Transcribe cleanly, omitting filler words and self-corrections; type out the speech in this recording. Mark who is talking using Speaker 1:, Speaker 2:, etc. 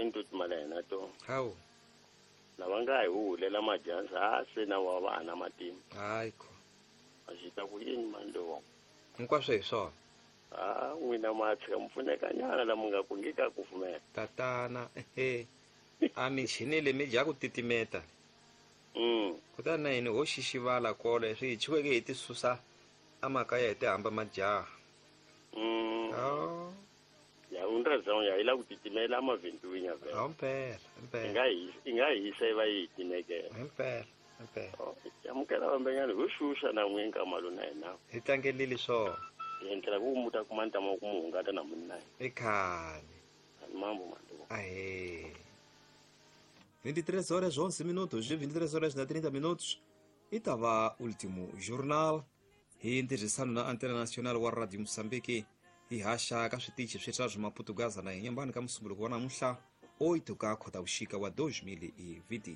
Speaker 1: mahlweni to timala hina to.
Speaker 2: Hawu.
Speaker 1: Lava nga hi huhulela majansi ha se na wa va ana matimba.
Speaker 2: Hayi ko.
Speaker 1: A xi ta ku yini mani lowa?
Speaker 2: Hinkwaswo hi swona.
Speaker 1: Ha n'wina ma tshika mi pfunekanyana la mi nga ku nge ka kufumela.
Speaker 2: Tatana, ehe. A michini leyi mi dya ku titimeta. Kutani na hina ho xixivala kolo swi hi chuweke hi ti susa amakaya hi ti hamba majaha. Oh.
Speaker 1: Ya undra ya ila ku titimela amavhentwini ya vhela.
Speaker 2: Impela, impela.
Speaker 1: I nga hisa i va yi timekela.
Speaker 2: Impela, impela.
Speaker 1: Amukela vambenyana ho xuxa na n'wi nkama lona hina.
Speaker 2: Hi tlangelile swona.
Speaker 1: Hi endlela ku muta kuma ntama ku mu hungata na munna.
Speaker 2: I khale.
Speaker 1: Mambo mando.
Speaker 2: Ahe. 23 horas 11 minutos, 23 horas na 30 minutos. I ta va último jornal hi ntirhisano na Antena Nacional wa Radio Moçambique hi haxa ka switichi swi swa Maputugaza na hi nyambani ka musumbuluko wa namuntlha 8 ka Khotavuxika wa 2026.